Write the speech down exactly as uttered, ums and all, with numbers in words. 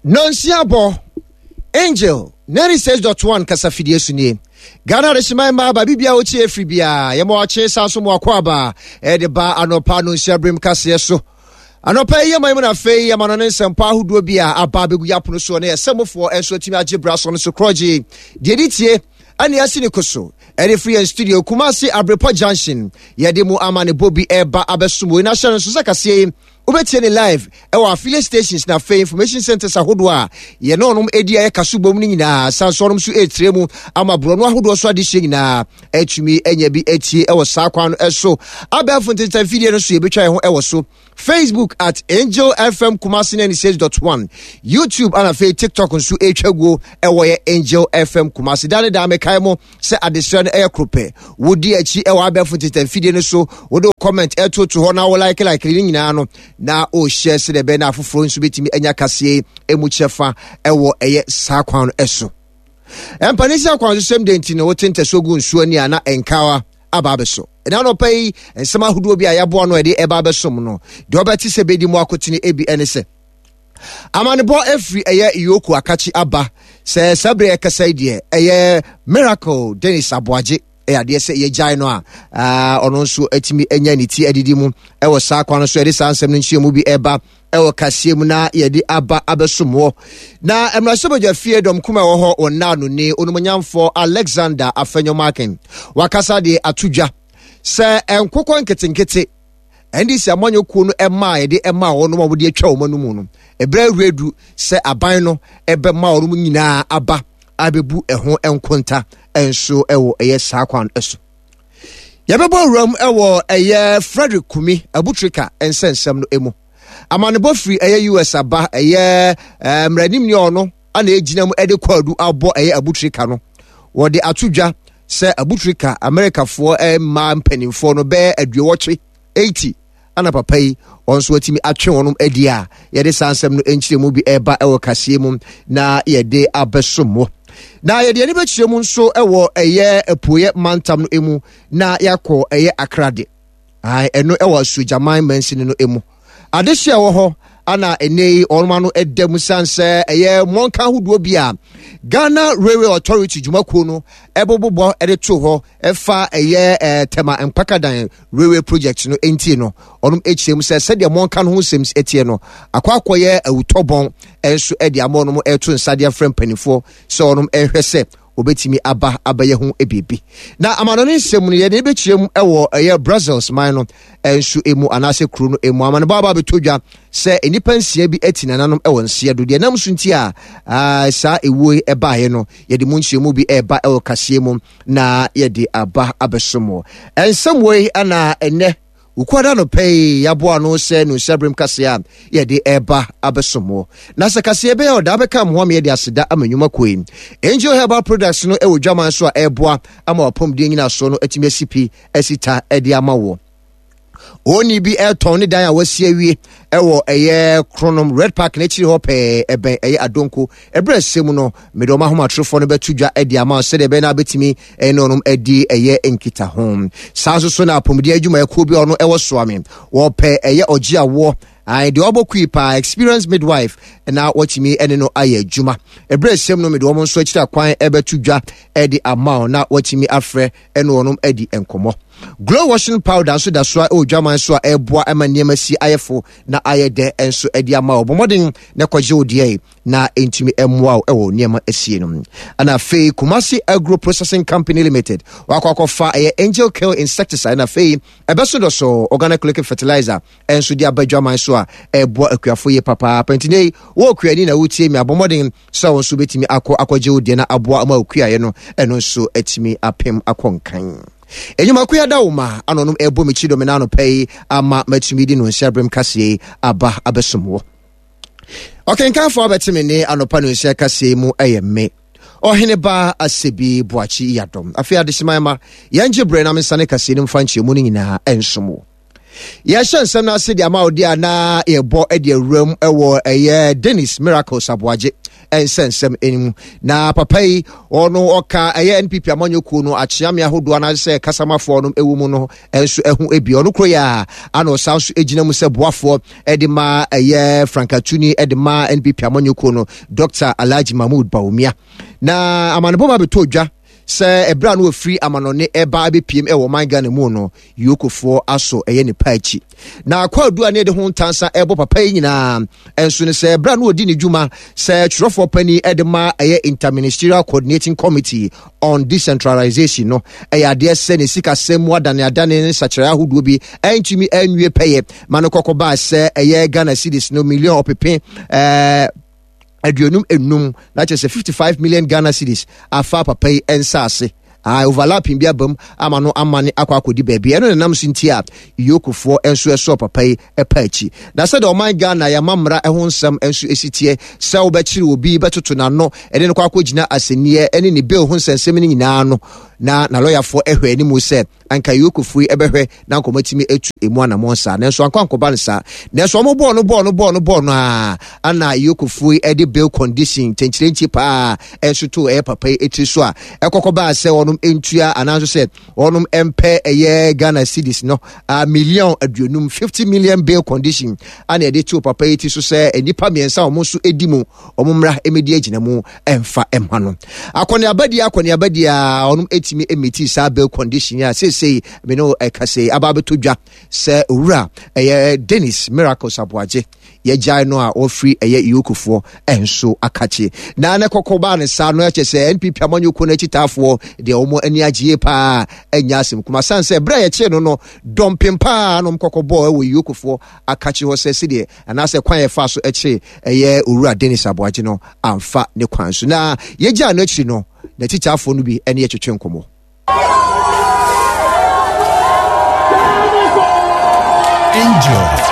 Nonsia bɔ Angel ninety-six point one kasafidie so nie. Ghana adehyeman mmaa ba bibia wokyi efiri bia yɛma wakye saa so mu akɔ aba ɛde ba anɔpa nonsia berem kaseɛ so. Anɔpa yi yɛma mu no, afei yɛma no ne nsɛmpa ahodoɔ bi a aba abɛgu yɛ apono soɔ ne ɛsɛmofoɔ nso atumi agye bra so no so korɔgye deɛ di tie ɛne asi ne ko so ɛde firi yɛn studio Kumase Abrepɔ Junction. Yɛde mu ama ne bɔ bi ɛba abɛsom wei na hyɛ no nso sɛ kaseɛ yi wobɛtie ne live ɛwɔ affiliate stations na afei information centers ahodoɔ a yɛne ɔnom ɛdi a yɛka so bom no nyinaa. San so ɔnom nso ɛtire mu ama borɔno ahodoɔ so adehyɛ nyinaa atumi anya bi atie ɛwɔ saa kwan no ɛso. Abɛɛfo ntentan fidie no so yɛbɛtwa yɛn ho ɛwɔ so: Facebook at Angel F M Kumasi ninety-six point one, YouTube ana afei TikTok nso ɛtwa guo ɛwɔ yɛ Angel F M Kumasi. Da ne da mekae mo sɛ adesrɛ no ɛyɛ koro pɛ. Wodi akyi ɛwɔ abɛɛfo ntentan fidie no so, wode wo comment ɛtoto hɔ na wo like like ne nyinaa no na ɔhyɛ sɛdeɛ ɛbɛyɛ na afoforɔ nso bɛtumi anya kaseɛ ɛmu kyɛfa ɛwɔ ɛyɛ saa kwan no ɛso. Mpanin sɛ akwansosɛm de nti no wote ntɛsoɔ gu nsuo ani a na nkawa aba abɛso. Ɛna anɔpa yi nsɛm ahodoɔ bi a yɛaboa no ɛde ɛba abɛsom no deɛ ɔbɛte sɛ bɛdi mu akotene ebi ɛne sɛ amanebɔ efiri ɛyɛ Yoko Akakye aba sɛ saa bere ɛkasa yi deɛ, ɛyɛ Miracle Dennis Aboagye ɛyɛ adeɛ sɛ yɛgyae no a ɔno nso atumi anya ne ti adidi mu ɛwɔ saa kwan no so. Yɛde saa nsɛm no nkyerɛ bi ɛba ɛwɔ kaseɛ mu na yɛde aba abɛsom wɔ. Na mmarahyɛbadwa fie dɔm kuma ɛwɔ hɔ wɔ nnaano ne onumonyamfoɔ Alexander Afenyo-Markin wakasa de ato dwa sɛ nkokɔ nketenkete N D C amanyɔkuo no ɛma a yɛde ɛma wɔn a wɔde atwa wɔn anum no, ɛberɛ awura du sɛ aban no ɛbɛma wɔn nyinaa aba abɛbu ɛho nkonta nso ɛwɔ ɛyɛ saa kwan so. Yɛbɛbɔ wuram ɛwɔ ɛyɛ Frederick Kumi Abutrika nsɛnsɛm no mu. Amanebɔ firi ɛyɛ U S aba, ɛyɛ mmeranimni ɔno ana egyina mu ɛde kwaadu abɔ ɛyɛ Abutrika no. Wɔde ato dwa sɛ Abutrika Amerikafoɔ mmaa mpanimfoɔ no bɛyɛ aduowɔtwe eighty ana papa yi wɔn nso atumi atwe wɔn adi a yɛde saa nsɛm no nkyerɛ mu bi ɛreba ɛwɔ kaseɛ mu na yɛde abɛso mu. Na yɛde ani bɛkyerɛ mu nso ɛwɔ ɛyɛ apueɛ mantam no mu na yɛakɔ ɛyɛ Akrade, ɛno ɛwɔ Asuogyaman mansini no mu. Adehye a ɛwɔ hɔ ana ɛnɛ yi wɔn ano ɛda mu san sɛ ɛyɛ mmɔnka ahodoɔ bi a Ghana Railway Authority dwumakuo no ɛbobobɔ ɛde to hɔ ɛfa ɛyɛ ɛɛ Tema Mpakadan railway project no nti no, ɔnom akyerɛ mu sɛ sɛdeɛ mmɔnka no ho nsɛm ɛteɛ no akɔ akɔyɛ awutɔbɔn ɛnso ɛde ama ɔnom ɛto nsa de afrɛ mpanimfoɔ sɛ ɔnom ɛhwɛ sɛ obetumi aba abɛyɛ ho biribi. Na amanɔne nsɛm no yɛde bɛkyerɛ mu ɛwɔ ɛyɛ Brussels man no nso emu anaasɛ kuro no emu. Amanebɔ aba abɛtɔ dwa sɛ nnipa nsia bi ati nananom ɛwɔ nseɛ do. Deɛ nam so nti a saa ewuo yi ɛbaeɛ no, yɛde mu nkyerɛmu bi ɛreba ɛwɔ kaseɛ mu na yɛde aba abɛso mu. Nsɛm wei ana ɛnɛ Wukuada no pɛ yi yɛaboa no sɛ no nsaberem kaseɛ a yɛde ɛreba abɛsom wɔ. Na sɛ kaseɛ bɛyɛ ɔda bɛka mmoa ma yɛde aseda ama nnwuma kuo yi. Angel Herbal Products no ɛwɔ dwaman so a ɛreboa ama wapɔmuden nyinasoɔ no atumi asi pi asi ta ɛde ama wɔ. Oni bi ɛtɔn ne dan a wasi awie ɛwɔ ɛyɛ Kronom Red Park n'akyiri hɔ pɛɛ, ɛbɛn ɛyɛ Adonko. Ɛberɛ ɛsɛ mu no mede ɔma ahomatorofoɔ no bɛto dwa ɛde ama sɛdeɛ ɛbɛyɛ no abɛtumi ɛne ɔnom adi ɛyɛ nkitaho. Saa nso so na apɔmuden adwumayɛkuo bi a ɔno ɛwɔ Soame wɔpɛ ɛyɛ ɔgye awoɔ deɛ ɔbɔ kui paa, experience midwife, na wɔtumi ɛne no ayɛ adwuma. Ɛberɛ ɛsɛm no mede wɔn nso akyiri akwan ɛbɛto dwa ɛde ama wo na wɔtumi afrɛ ɛne wɔnom adi nkɔmmɔ. Glow washing powder nso da so a ɛwɔ dwaman so a ɛreboa ma nneɛma si ayɛfo na ayɛ dɛ nso ɛde ama wo. Bɔ mmɔden na kɔgye wo deɛ na ɛntumi mmoa wo ɛwɔ nneɛma asie no. Ɛna afei Kumasi Agro Processing Company Limited wakɔ akɔfa ɛyɛ Angel Kill insecticide na afei ɛbɛso dɔ so organic liquid fertilizer ɛnso de aba dwaman so a ɛboa akuafo yie papaapa. Nti ne wɔ okuani na wotie mi, abɔ mmɔden sɛ wo nso bɛtumi akɔ akɔgye wo deɛ na aboa ama okuaeɛ no ɛno nso atumi apem akɔ nkan. Enyimako ya da wo ma ano nom ɛbɔ me kyi dɔm na anɔpa yi ama matumi di no nhyɛ kaseɛ yi aba abɛsom wɔ. Ɔkenkanfoɔ abɛte me ne anɔpa no nhyɛ kaseɛ yi mu ɛyɛ me Ɔhene Ba Asɛbi Boakye Yadɔm. Afei adehyeman ma yɛngye berɛ na mensane kaseɛ no mfa nkyerɛmu no nyinaa ɛnsom wo. Yɛhyɛ nsɛm no ase de ama wo deɛ a na yɛbɔ de awuram wɔ ɛyɛ Dennis Miracles Aboagye nsɛnsɛm mu. Na papa yi ɔno ɔka ɛyɛ N P P amanyɔkuo no akyeame ahodoɔ anaasɛ kasamafoɔ no ɛwɔ mu no nso ɛho ebi. Ɔno koro yɛ a ana ɔsan so gyina mu sɛ boafoɔ ɛde ma ɛyɛ frankatuni ɛde ma N P P amanyɔkuo no, Doctor Alhaji Mahmood Bawumia. Na amanebɔ ba bɛtɔ dwa sɛ ɛberɛ a no wɔfiri amanɔne ɛba abɛpiem ɛwɔ ɔman Ghana mu no, yokofoɔ asɔ ɛyɛ ne pa akyi. Na akɔadu a ne yɛde ho ntansa ɛbɔ papa yi nyinaa ɛnso no sɛ ɛberɛ a no wɔdi ne dwuma sɛ twerɛfoɔ pani ɛde ma ɛyɛ Interministerial Coordinating Committee on Decentralization no, ɛyɛ adeɛ sɛ ne sikasɛm mu adaneadane ne nsakyerɛ ahodoɔ bi ɛntumi ɛnwie pɛyɛ ma no kɔkɔ baa sɛ ɛyɛ Ghana cedis no million ɔpepe ɛɛ aduonum enum, na kyerɛ sɛ fifty-five million Ghana cedis afa papa yi nsa ase ah, overlapping bi aba mu ama no ama ne akɔ akɔdi baabi. Ɛno nenam so nti a yokofoɔ nso ɛsɔɔ papa yi ɛpa akyi. Na sɛdeɛ ɔman Ghana yɛama mmara ɛho nsɛm nso ɛsi teɛ sɛ wobɛkyere obi bɛtoto n'ano ɛde no kɔ akɔgyina asɛnniɛ ɛne ne bail ho nsɛnsɛm no nyinaa no, na na lɔyafoɔ ɛhwɛ anim sɛ anka yokofoɔ yi ɛbɛhwɛ na nkɔmɔ atu emu anammɔn saa, nanso ankɔ ankɔba no saa. Nanso ɔmo bɔɔ no bɔɔ no bɔɔ no bɔɔ no a ana yokofoɔ yi ɛde bail condition kyɛnkyerɛnkyi paa ɛnso to ɛyɛ papa yi etiri so a ɛkɔkɔ baa sɛ wɔnom ntua anaasɛ sɛ wɔnom mpɛ ɛyɛ Ghana cedis no a million aduonum, fifty million bail condition ana yɛde to papa yi ti so sɛ nnipa mmiɛnsa a wɔn nso edi mu, wɔn mmra emedi agyina mu ɛmfa ɛma no. Akɔneaba di akɔneaba di a wɔnom etimi emiti saa bail condition a seesei me no ɛka sɛ aba abɛtɔ dwa sɛ owura ɛyɛ Dennis Miracles Aboagye yɛgyae no a wɔfiri ɛyɛ yokofoɔ ɛnso akakye. Na ne kɔkɔ baa ne saa no, ɛkyɛ sɛ N P P amanyɔkuo no akyitaafoɔ deɛ wɔn ani agye paa, ɛnya asɛm kuma san sɛ berɛ a yɛkyee no no dɔmpem paa nom kɔkɔ bɔɔ ɛwɔ yokofoɔ akakye hɔ sɛ sɛdeɛ anaasɛ kwan yɛfa so ɛkyee ɛyɛ owura Dennis Aboagye no amfa ne kwan so. Na yɛgyaa no akyiri no, n'akyitaafoɔ no bi ɛne yɛtwetwe nkɔmmɔ. Angel